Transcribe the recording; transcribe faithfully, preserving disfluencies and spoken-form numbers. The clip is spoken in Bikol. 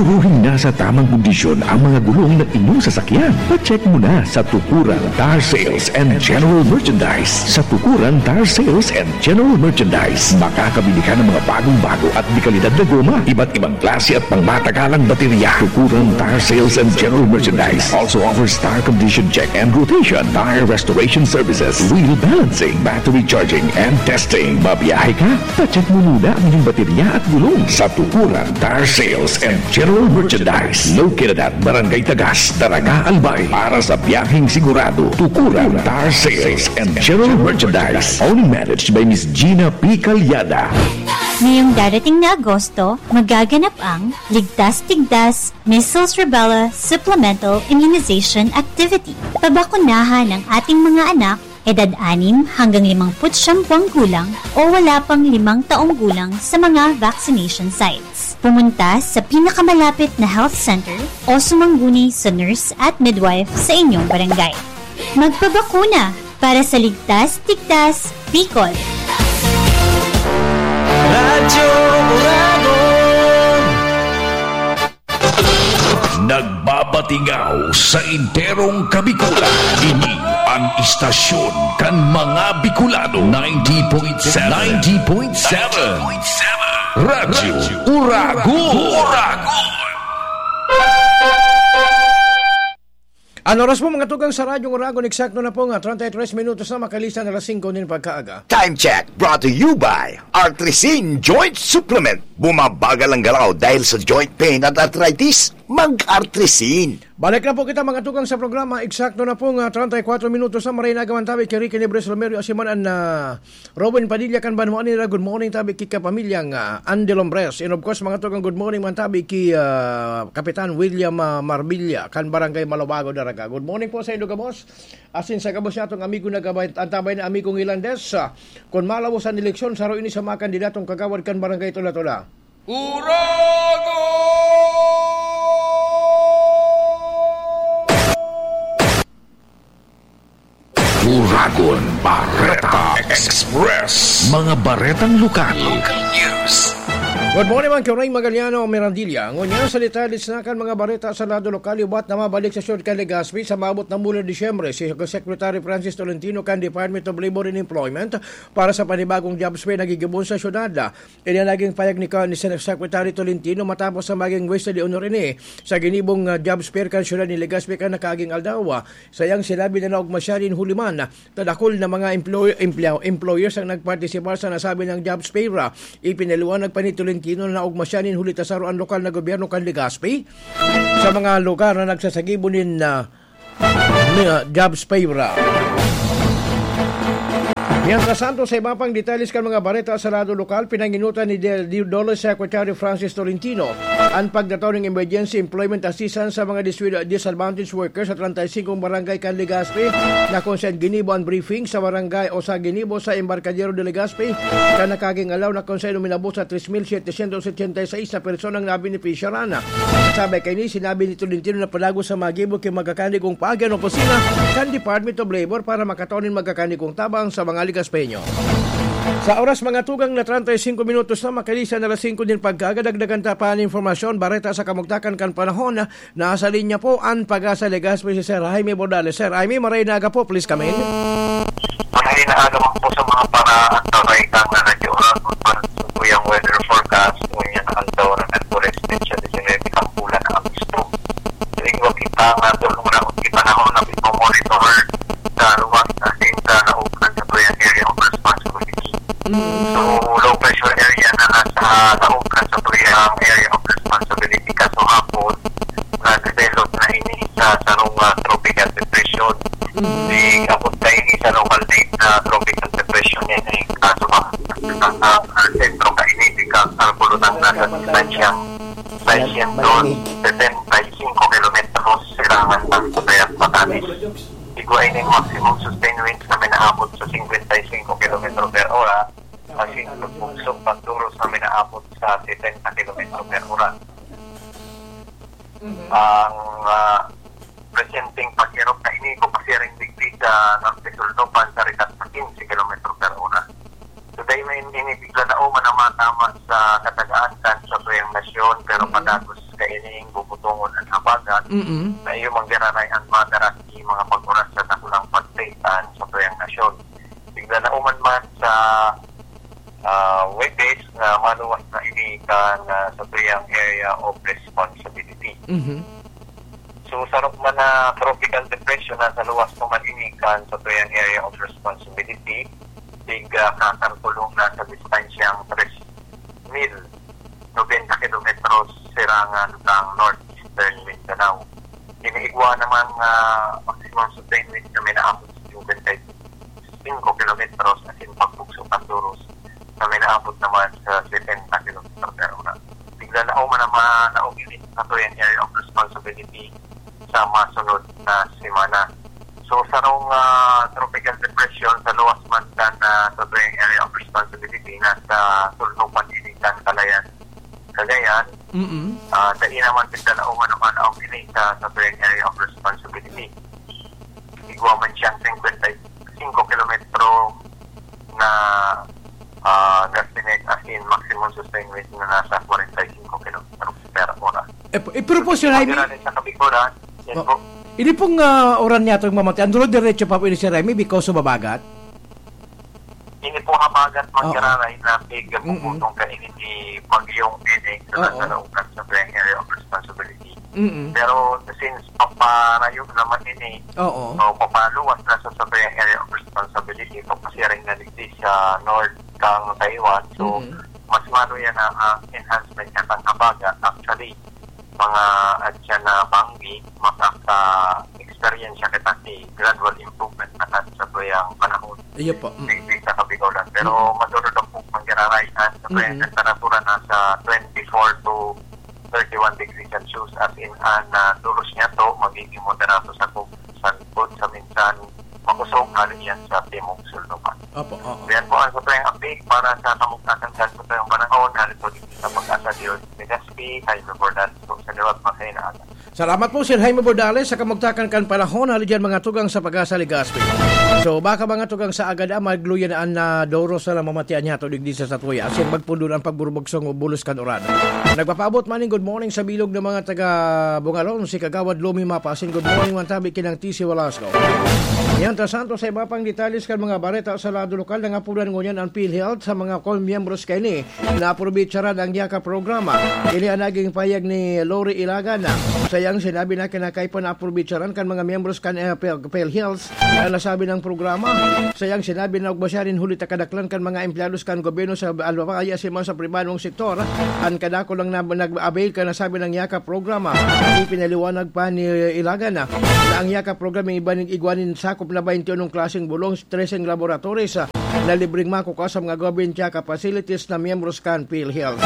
Siguraduhing nasa tamang kondisyon ang mga gulong ng inyong sasakyan. Pa-check mo na sa Tukuran Tire Sales and General Merchandise. Sa Tukuran Tire Sales and General Merchandise, makakabili ka ng mga bagong-bago at dekalidad na goma, iba't ibang klase at pangmatagalang baterya. Tukuran Tire Sales and General Merchandise also offers tire condition check and rotation, tire restoration services, wheel balancing, battery charging, and testing. Babiyahe ka? Pa-check mo muna ang iyong baterya at gulong sa Tukuran Tire Sales and General Merchandise. Located at Barangay Tagas, Daraga, Albay. Para sa biyaheng sigurado, Tukuran Tire Sales and General Merchandise. Owned and managed by Miss Gina P. Calyada. Ngayong darating na Agosto, magaganap ang Ligtas Tigdas Measles Rubella Supplemental Immunization Activity. Pabakunahan ang ating mga anak, edad anim hanggang limangput siyam buwang gulang o wala pang limang taong gulang sa mga vaccination sites. Pumunta sa pinakamalapit na health center o sumangguni sa nurse at midwife sa inyong barangay. Magpabakuna para sa Ligtas Tigdas Bicol. Radyo Uragon. Nagbabatingaw sa enterong Kabikulan. Ini ang istasyon kan mga Bicolano. Ninety point seven. Ninety point seven. Radyo Uragon. Uragon. An oras po, mga tugang, sa Radyo Uragon, eksakto na po nga treinta y tres minutos na makalisan alas singko nin pagkaaga. Time check brought to you by Artrisin Joint Supplement. Bumabagal ang galaw dahil sa joint pain at arthritis? Mag-Artrisin. Balik na po kita, mga tugang, sa programa. Eksakto na po nga treinta y cuatro minutos na. Maray na agawan tabi ki Ricky Nibres Romero, Asiman an, ah, Robin Padilla kan banwaan nila, good morning tabi ki kapamilyang, ah, Andy Lombres. And of course, mga tugang, good morning man tabi ki, ah, Kapitan William, ah, Marbilla kan Barangay Malubago, Daraga. Good morning po sa inyo gabos. Asin sa gabos niya atong amigo na gabay, antabay na amigong Hilandes. Ah, kun malawos an eleksyon, saro ini sa mga kandidatong kagawad kan Barangay Tula-Tula. Uragon! Uragon Bareta Express. Mga baretang lokal. Local news. Good morning, man, Kiray Magaliano Mirandilla. Ngunyan, sa detalye na kan mga bareta sa lado lokal, liwat na mabalik sa siyudad kan Legazpi sa maabot na mula Disyembre si Secretary Francis Tolentino kan Department of Labor and Employment para sa panibagong jobs fair na gigibon sa siyudad. Ini an naging pahayag ni, ni Sen-, Secretary Tolentino matapos sa maging Guesta de Honor ini sa ginibong, ah, jobs fair kan siyudad ni Legazpi kan nakaaging aldaw. Sayang sinabi na naugma siya nin huli man na dakul na mga employ-, employ-, employers ang nagpartisipar sa nasabing jobs fair. Ipinaliwanag pa ni Tolentino na naugma siya nin huli ta saro an lokal na gobyerno kan Legazpi sa mga lugar na nagsasagibo nin, ah, mga jobs fair. Mientras tanto, sa iba pang detalles kan mga bareta sa lado lokal, pinanginutan ni De-, Di-, Dole Secretary Francis Tolentino an pagtataw ning emergency employment assistance sa mga diswi-, disadvantaged workers sa treinta y cinco barangay kan Legazpi, na kung saan ginibo an briefing sa barangay o sa ginibo sa Embarcadero de Legazpi, kan nakaaging aldaw, na kung saan uminabot sa tres mil setecientos ochenta y seis na personang nabenepisyaran. Sabay kaini, sinabi ni Tolentino na padagos sa magibo ki magkakanigong paagi an opisina kan Department of Labor para makatao nin magkakanigong tabang sa mga Legazpeño. Sa oras, mga tugang, na treinta y cinco minutos na makalisan alas singko nin pagkaaga, dagdagan ta pa an impormasyon, bareta sa kamugtakan kan panahon. Nasa linya po an Pag-asa Legazpi si Sir Jaime Bordales. Sir Jaime, maray na aga po, please come in. Maray na aga man po sa mga para-, antabay kan Radyo Uragon, para sa tuyang weather forecast, ngunyan na aldaw na Miyerkules, petsa disinebe kan bulan na Agosto. Sa igwa kita nga, tulong na ang panahon na pagmamonitor sa luwas asin sa laog kan satuyang area of responsibility. Mm. So, low pressure area na nasa laog kan satuyang area of responsibility, kasuhapon, na-develop na ini sa sarong, ah, tropical depression. Mm. Di abot na ini sa local name na tropical depression yan, eh. Kaso ba, ang, ang sentro kaini, di ka kalkulo ng nasa distansya seiscientos setenta y cinco kilometros silangan sa Cagayan, Batanes. Igwa ini maximum sustained winds na minaabot sa cincuenta y cinco kilometro per hora, asin pagbugsok pagduros na minaabot sa setenta kilometro per hora. Mhm. Ang, ah, presenteng paghirok na ini, kupasiring digdi sa norte-sur, no, pansarikat sa quince kilometro per hora. So, dahil may ini, bigla na uman ang matama sa katagaan kan satuyang nasyon, pero, mhm, padagos kaining bubutongon an habagat, Mm-mm. na iyo manggiraray an madara ki mga pag-uras sa dakulang pagtay kan satuyang nasyon. Tiglalauman man sa, ah, Huwebes na maluwas na ini kan, ah, satuyang area of responsibility. Mhm. So, sarong man na tropical depression na sa luwas naman ini kan satuyang area of responsibility, tig, ah, kakalkulong na sa distansyang tres mil nobenta kilometros sirangan kan northeastern Mindanao. Ini igwa naman nga maximum sustained wind na minaabot sa singkwenta y singko kilometros asin pagbugso kan doros na minaabot naman sa setenta kilometro per hora. Tiglalao man naman na umili sa Catoyan Area of Responsibility sa masunod na semana. So, sarong, ah, tropical depression sa luwas man kan, ah, Catoyan Area of Responsibility na sa sulnupan ini kan Calayan, Cagayan, Mm-mm. ah, dai naman tiglalao man naman ang ini sa Catoyan Area of Responsibility. Igwa man siyang singkwenta y singko kilometro na, ah, gustiness, as in maximum sustained wind na nasa kwarenta y singko kilometro per hora. Eh, p-, eh, pero po, Sir Jaime, Pagkirali sa Kabigulan, yan Oh. po. Ini pong, ah, uran niya itong mamatay. Ang dulo diretso pa po ini, Sir Jaime, because of habagat? Ini po habagat Oh. manggiraray na tig Mm-mm. puputong ka ini ni Bagyong Ene sa Oo. nasa loob kan sa Area of Responsibility. Mm-mm. Pero since paparayo naman ini, Oo. o papaluwas na sa Sobrang Area of Responsibility, papasiring na digdi sa north kang Taiwan. So, Mm-mm. mas maluya na ang enhancement niya kan habagat. Actually, mga atyan na banggi, makaka-experience siya kita si gradual improvement na kan sa tuyang panahon. Iyo po. Mm. Digdi sa Kabigulan. Pero Mm. maduro daw po manggiraray sa Mm. temperatura na sa twenty-four to thirty-one degrees Celsius, as in, an, ah, duros niya to, magiging moderato sa kung saan po, sa minsan, makusog, hali yan sa timog sulnupan. Opo, oo. Yan po ang sa tuyang update para sa kamugtakan kan sa tuyang panahon, hali po dito sa Pag-asa Dios, Legazpi, Jaime Bordales po, sa liwat, mga kailangan. Salamat po, Sir Jaime Bordales, sa kamugtakan kan panahon. Hali dyan, mga tugang sa Pag-asa, Legazpi. So, baka mga tugang sa agad, ah, magluya na an, ah, doros na namamatian niya to digdi sa satuya. Asin magpundon ang pagburubogsong o bulos kan uran. Nagpapaabot man ning good morning sa bilog na mga taga Bungalon, si Kagawad Lomi Mapa. Asin good morning man tabi kinang T C Velasco. Yan, ta santo sa iba pang detalles kan mga bareta sa lado lokal, nangapudan ngunyan ang PhilHealth sa mga kon-, miyembros kaini na aprovecharaan ang Yaka programa. Ini ang naging pahayag ni Lori Ilagan. Sa iyang sinabi na kinakaipo na aprovecharaan kan mga miyembros kan, eh, Pel-, PhilHealth ang nasabi ng programa. Sa iyang sinabi na ugma siya rin huli ta kadaklan kan mga empleyados kan gobyerno sa alwawaya asin man sa pribadong sektor. An kadako lang na nag-avail kan nasabi ng Yaka programa. Ipinaliwanag pa ni Ilagan na, na ang Yaka program ay iba nin igwa nin sakop na bainti unong klaseng bulong, treseng laboratories, ah, na libreng makukuha sa mga government Yaka facilities na miyembros kan PhilHealth.